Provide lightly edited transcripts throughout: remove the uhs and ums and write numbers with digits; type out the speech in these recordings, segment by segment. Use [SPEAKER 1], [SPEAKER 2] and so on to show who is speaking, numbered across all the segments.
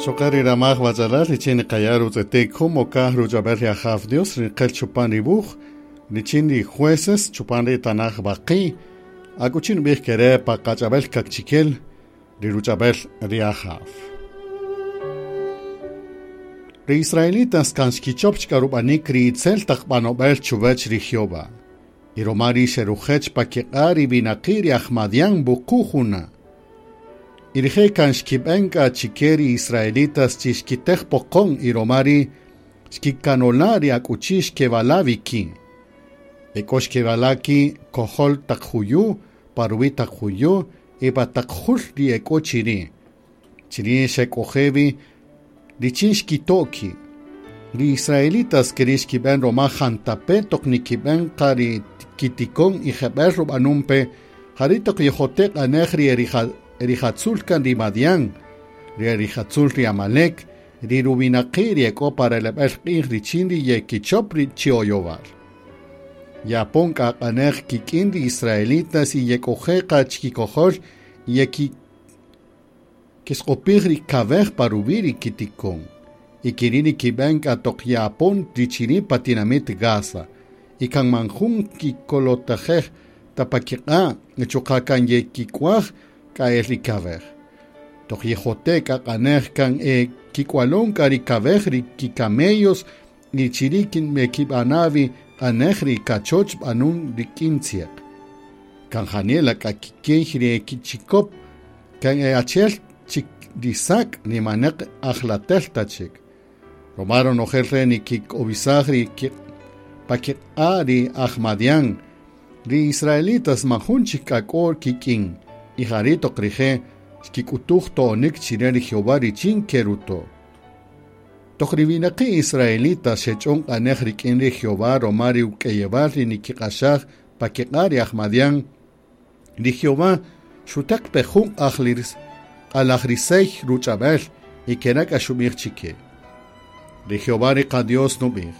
[SPEAKER 1] Xoqari ramaj wachalal richin niqaya' rutz'etik jun mokaj ruch'ab'el ri Ajaw Dios riqel chupan ri wuj richin ri jueces chupan ri tanaj baqi akuchi nub'ij kere' pa qach'ab'el kakchikel ri ruch'ab'el ri Ajaw. Ri israelitas kan xkichop chik rub'anik ri itzel taq b'anob'el chuwach ri Jehová. Y roma ri xerujech pa kiq'a' ri winaqi' ri aj Madián wuqu' juna'. Y rije' kan xkib'en k'a chike ri israelitas chi xkitej poqon y roma ri' xkikanola' ri akuchi xkeb'ala' wi ki'. E k'o xkeb'ala' ki' kojol taq juyu', pa ruwi' taq juyu' y pa taq jul ri e k'o chiri'. Chiri' xek'oje' wi richin xkito' ki'. Ri israelitas keri' xkib'en roma jantape' toq nikib'en qa ri kitikon y jeb'el rub'anun pe jari' toq yejote' q'anej ri erijatzul kan ri Madián, ri erijatzul ri Amalek, ri ruwinaqi' ri e k'o pa releb'el q'ij richin ri yekichop ri chi oyowal. Yapon k'a q'anej kik'in ri israelitas y yek'oje' qa chikikojol y yekisq'opij ri kawej pa ruwi' ri kitikon. Y keri' nikib'en k'a toq ye'apon ri chiri' pa tinamit Gaza. Y kan man jun kikolotajej ta pa kiq'a' chuqa' kan yekik'uaj k'a el ri kawej. Toq yejote' k'a q'anej kan e kik'ualon k'a ri kawej ri kikamellos y chiri' mekib'ana' wi q'anej ri kachoch b'anun rik'in tzieq. Kan janela k'a kikey ri kichikop kan e achi'el chik ri sak' nimaneq ajlatel ta chik. Roma ronojel re' nikik'owisaj ri pa kiq'a' ri aj Madián. Ri israelitas man jun chik k'a k'o kik'in y jari' toq rije' xkik'utuj to'onik chire ri Jehová richin keruto'. Toq ri winaqi' israelitas xech'on q'anej rik'in ri Jehová roma ri uk'eyewal ri nikiq'axaj pa kiq'a' ri aj Madián, ri Jehová xutaq pe jun q'alajrisey ruch'ab'el y kera' k'a xub'ij chike. Ri Jehová ri qa-Dios nub'ij,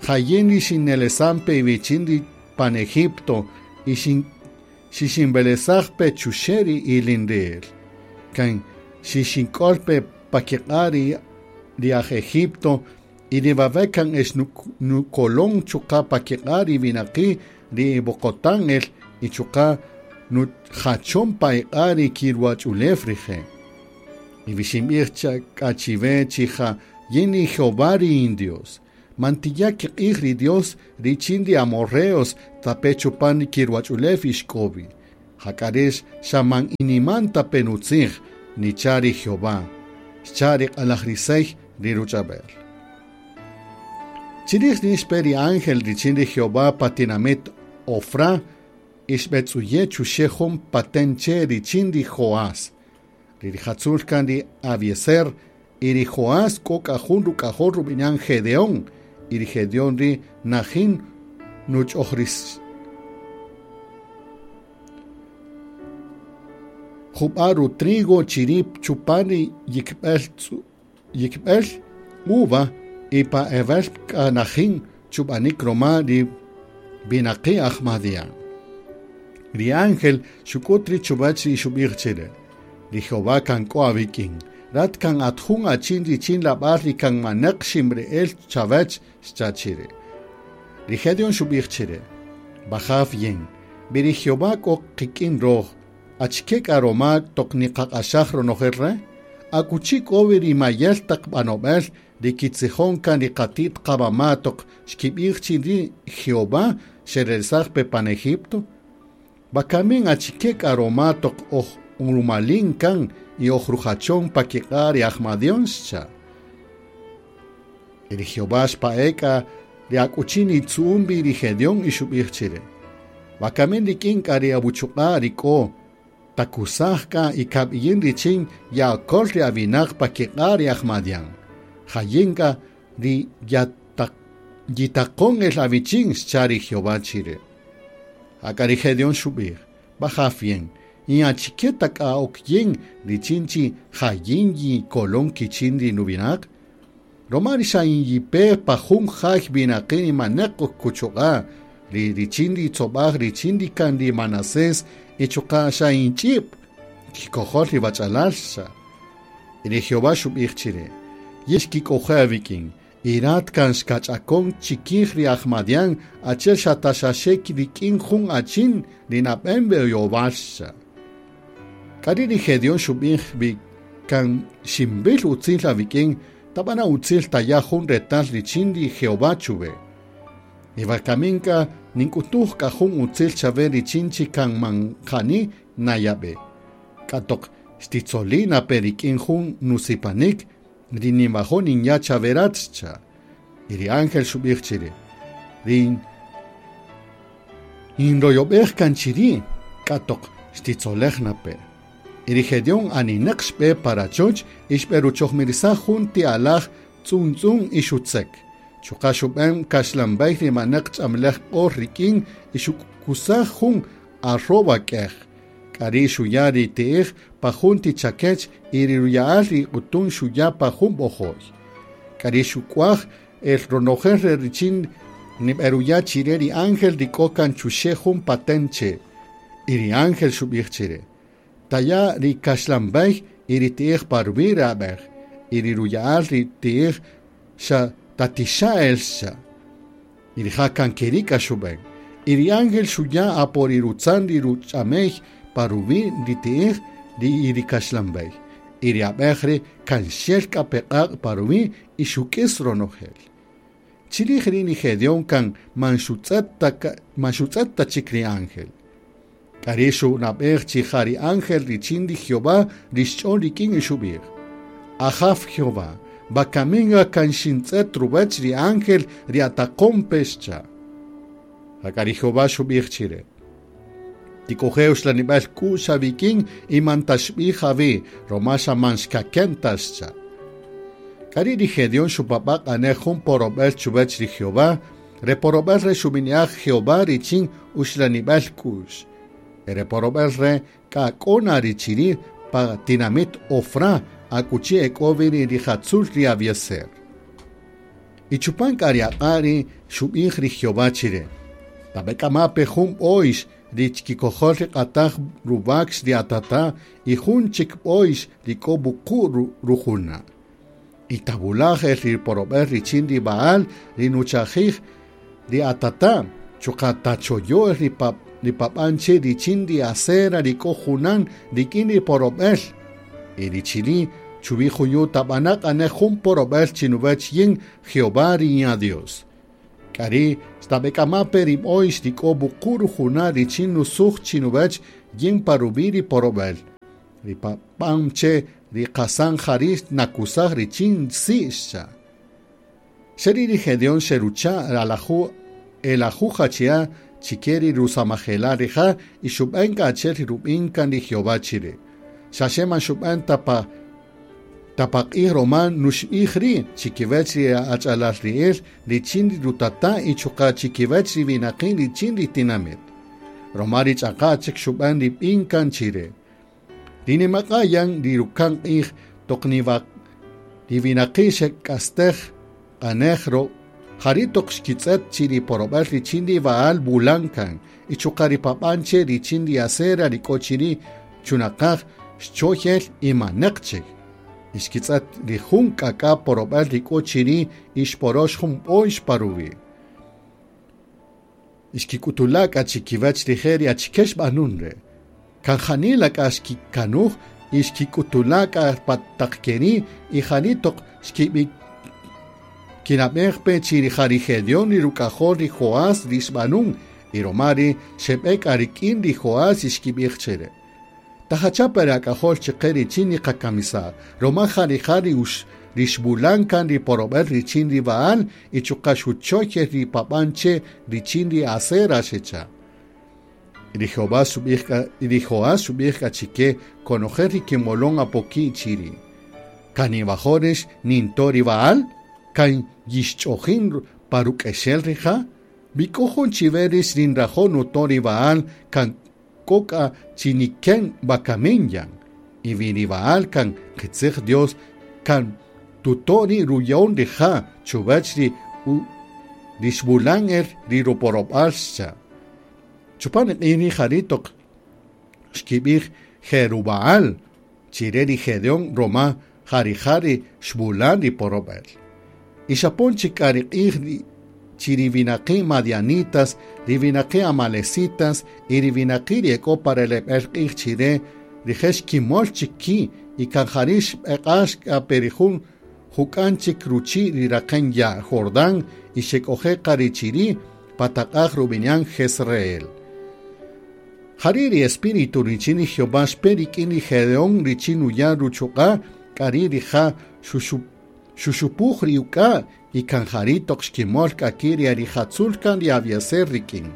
[SPEAKER 1] Jayin ri xinelesan pe iwichin ri pan Egipto y xixinb'elesaj pe chuxe' ri ilinri'il. Kan xixink'ol pe pa kiq'a' ri aj Egipto y ri wawe' kan ex nukolon chuqa' pa kiq'a' ri winaqi' ri ib'oqotan el y chuqa' nujachon pa iq'a' ri kiruwach'ulew rije'. Y wixinb'ij k'a chiwe chi ja yin ri Jehová ri in Dios. Man tiya' kiq'ij ri Dios richin ri amorreos tape chupan ri kiruwach'ulew ixk'o wi. Jak'a rix xa man iniman ta pe nutzij, nicha' ri Jehová. Xcha' ri q'alajrisey ri ruch'ab'el. Chirij ri' xpe ri ángel richin ri Jehová pa tinamit Ofra y xb'etz'uye' chuxe' jun paten che' richin ri Joás. Ri rijatzul kan ri Abiezer y ri Joás k'o k'a jun ruk'ajol rub'inan Gedeón y ri Gedeón ri' najin nuch'ojris jub'a' rutrigo chiri' chupan ri yikb'el uva y pa ewel k'a najin chub'anik roma ri winaqi' aj Madián. Ri ángel xuk'ut ri chuwach ri xub'ij chire. Ri Jehová kan k'o awik'in. Rat kan at jun achin richin lab'al ri kan maneq ximri'el chawach xcha' chire. Ri Gedeón xub'ij chire. Wajaw yin, wi ri Jehová k'o qik'in roj, achike k'a roma toq niqaq'axaj ronojel re'? Akuchi k'o wi ri mayel taq b'anob'el ri kitzijon kan ri qati't qamama' toq xkib'ij chi ri Jehová xerelsaj pe pan Egipto? Wakamin achike k'a roma toq oj urumalin kan y oj rujachon pa kiq'a' ri aj Madián xcha'. Y ri Jehová xpa'e' k'a ri akuchi nitzu'un wi ri Gedeón y xub'ij chire. Wakamin rik'in k'a ri awuchuq'a' ri k'o takusaj k'a y kab'iyin richin ya'akol ri awinaq pa kiq'a' ri aj Madián. Jayin k'a ri yitaqon el awichin xcha' ri Jehová chire. Jak'a ri Gedeón xub'ij, Wajaw yin, in achike ta k'a ok yin richin chi jayin yikolon kichin ri nuwinaq? Roma ri xa in yipe pa jun jay winaqi' ri maneq kuchuq'a', ri richin ri tzob'aj richin ri kan ri Manasés y chuqa' xa in ch'i'p kikojol ri wach'alal xcha'. Y ri Jehová xub'ij chire: Yin xkik'oje' awik'in, y rat kan xkach'akon chikij ri aj Madián achi'el xa ta xaxe rik'in jun achin ri nab'en oyowal, xcha'. K'ari' ri Gedeón xub'ij wi kan xinb'il utzil awik'in, tab'ana' utzil taya' jun retal richin ri Jehová chuwe. Y wakamin k'a nink'utuj k'a jun utzil chawe richin chi kan man jani nayab'e. K'a toq xtitzolina pe rik'in jun nusipanik ri ninwajo' ninya' chawe rat, xcha'. Y ri ángel xub'ij chire: Rin inroyob'ej kan chiri', k'a toq xtitzolej na pe. Y ri Gedeón aninaq xb'e pa rachoch y xb'eruchojmirisaj jun ti alaj tz'untz'un y xutzek. Chuqa' xub'en kaxlanb'ey ri manaq ch'amlej q'or rik'in y xukusaj jun arroba k'ej. K'ari' xuya' ri ti'ij pa jun ti chakech y ri ruya'al ri q'utun xuya' pa jun b'ojo'y. K'ari' xuk'uaj el ronojel re richin nib'eruya' chire ri ángel ri k'o kan chuxe' jun paten che'. Y ri ángel xub'ij chire: Taya' ri kaxlanb'ey y ri ti'ij pa ruwi' ri ab'ej, y ri ruya'al ri ti'ij xa tatixa' el, xcha'. Y rija' kan keri' k'a xub'en. Y ri ángel xuya' apo ri rutzan ri ruch'amey pa ruwi' ri ti'ij ri y ri kaxlanb'ey. Y ri ab'ej ri kan xel k'a pe q'aq' pa ruwi' y xuk'is ronojel. Chirij ri' ri Gedeón kan man xutz'et ta chik ri ángel. K'ari' xunab'ej chi ja ri ángel richin ri Jehová ri xch'on rik'in y xub'ij: Ajaw Jehová, wakaminga kan xintz'et ruwäch ri ángel ri ataqon pe, xcha'. Jak'a ri Jehová xub'ij chire: Tik'oje' uxlanib'al k'u'x awik'in y man taxb'ij awi', roma xa man xkaken ta, xcha'. K'ari' ri Gedeón xupab'a' q'anej jun porob'el chuwäch ri Jehová, re porob'el re xub'ini'aj Jehová richin uxlanib'al k'u'x. Re porob'el re k'a k'o na ri chiri' pa tinamit Ofra, akuchi ek'o wi ri rijatzul ri Abiezer. Y chupan k'a ri aq'a' ri xub'ij ri Jehová chire: Tab'ek'ama' pe jun b'oyx ri chikikojol ri q'ataj ruwakx ri atata y jun chik b'oyx ri k'o wuqu' rujuna'. Y tabulaj el ri porob'el richin ri Baal ri nuchajij ri atata, chuqa' tachoyo' el ri pab'anche richin ri Asera ri k'o junan rik'in ri porob'el. Y ri chiri' chuwi' juyu' tab'ana' q'anej jun porob'el chinuwach yin Jehová ri Dios. K'ari' xtab'ek'ama' pe ri b'oyx ri k'o wuqu' rujuna' richin nusuj chinuwach yin pa ruwi' ri porob'el. Ri pab'anche ri qasan jari' nakusaj richin si', xcha'. Xeri' ri Gedeón xerucha' elajuj achia' chike ri rusamajela' rija' y xub'en k'a achi'el ri rub'in kan ri Jehová chire. Xaxe man xub'en ta paq'ij roma nuxb'ij ri' chikiwach ri ach'alal ri'il richin ri rutata' y chuqa' chikiwach ri winaqi' richin ri tinamit. Roma ri ch'aqa' chik xub'en ri b'in kan chire. Ri nimaq'a' yan ri ruka'n q'ij toq ri winaqi' xek'astej q'anej jari' toq xkitz'et chi ri porob'el richin ri Baal wulan kan y chuqa' ri pab'anche richin ri Asera ri k'o chiri' chunaqaj xchoyel y manaq chik. Y xkitz'et ri jun k'ak'a' porob'el ri k'o chiri' y xporox jun b'oyx pa ruwi'. Y xkik'utula' k'a chikiwach rije' ri achike xb'anun re'. Kan janila k'a xkikanuj y xkik'utula' k'a pa taq keri' y jari' toq xkib'i kinab'ej pe chi ri ja ri Gedeón ri ruk'ajol ri Joás ri xb'anun y roma ri xeb'e k'a rik'in ri Joás y xkib'ij chire: Tajacha' pe ri ak'ajol chiqe richin niqakamisaj, roma ja rija' ri xb'ulan kan ri porob'el richin ri Baal y chuqa' xuchoyel ri pab'anche richin ri Asera, xecha'. Y ri Joás xub'ij k'a chike konojel ri kimolon apoki' chiri': Kan niwajo' rix ninto' ri Baal? Kan yixch'ojin pa ruk'exel rija'? Wi k'o jun chiwe rix rinrajo' nuto' ri Baal kan k'o k'a chi niken wakamin yan. Y wi ri Baal kan qitzij Dios kan tuto' ri ruya'on rija' chuwach ri xb'ulan el ri ruporob'al, xcha'. Chupan ri q'ij ri' jari' toq xkib'ij Jerubaal chire ri Gedeón roma Ja rija' ri xwulan ri porob'el. Y xapon chik k'a ri q'ij chi ri winaqi' madianitas, ri winaqi' amalecitas y ri winaqi' ri e k'o pa releb'el q'ij chi re rije' xkimol chik ki' y kan jari' xb'eq'ax k'a pe ri jun juk'an chik ruchi' ri raqen ya' Jordán y xek'oje' qa ri chiri' pa taq'aj rub'ini'an Jezreel. Jari' ri espíritu richin ri Jehová xpe rik'in ri Gedeón richin nuya' ruchuq'a' k'a ri' rija' xuxupuj ri uk'a' y kan jari' toq xkimol k'a ki' ri rijatzul kan ri Abiezer rik'in.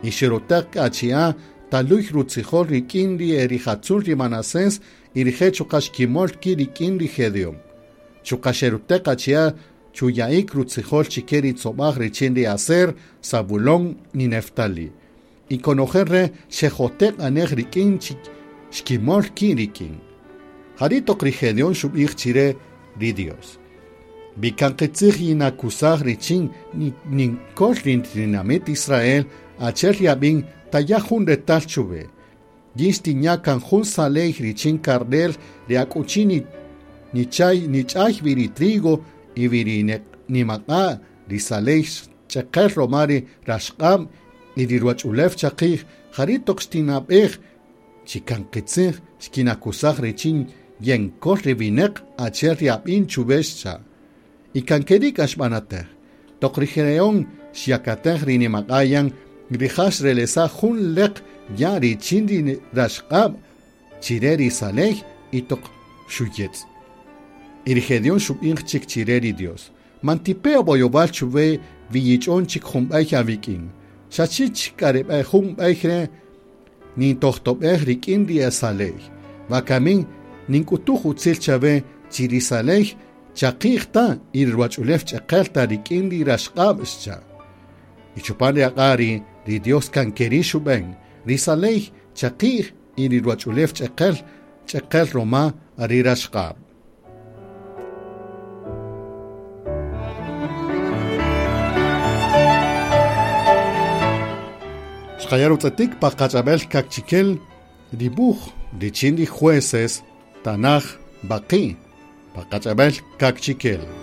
[SPEAKER 1] Y xerutäq k'a achi'a' taluy rutzijol rik'in ri rijatzul ri Manasés y rije' chuqa' xkimol ki' rik'in ri Gedeón. Chuqa' xerutäq achi'a' chuya'ik rutzijol chike ri tzob'aj richin ri Aser, Zabulón y Neftali. Y konojel re' xejoteq anej rik'in xkimol ki' rik'in. Jari' toq ri Gedeón xub'ij chire ri Dios: Wi kan qitzij yinakusaj richin ninkol ri tinamit Israel, achi'el yab'in taya' jun retal chuwe. Yin xtinya' kan jun saley richin karnel ri akuchi nich'ay wi ri trigo y wi ri nimaq'a' ri saley ch'eqel roma ri raxq'ab' y ri ruwach'ulew chaqij, jari' toq xtinab'ej chi kan qitzij xkinakusaj richin yenkol ri winäq achi'el ri ab'in chuwe xcha'. Y kan keri' k'a xb'anatej. Toq ri Gedeón xyakatej ri nimaq'ayan, rija' xrelesaj jun leq ya' richin ri raxq'ab' chire ri saley y toq xuyetz'. Y ri Gedeón xub'ij chik chire ri Dios: Man tipe oboyob'al chuwe wi yich'on chik jun b'ey awik'in. Xaxe chik k'a ri jun b'ey re' nintojtob'ej rik'in ri saley. Wakamin nink'utuj utzil chawe chi ri saley chaqi'j ta y ri ruwach'ulew ch'eqel ta rik'in ri raxq'ab' xcha'. Y chupan ri aq'a' ri' ri Dios kan keri' xub'en, ri saley chaqi'j y ri ruwach'ulew ch'eqel ch'eqel roma ri raxq'ab'. Xqaya' rutz'etik pa qach'ab'el kakchikel dibuj richin ri jueces Tanaj Baqi' pa qach'ab'el kakchikel.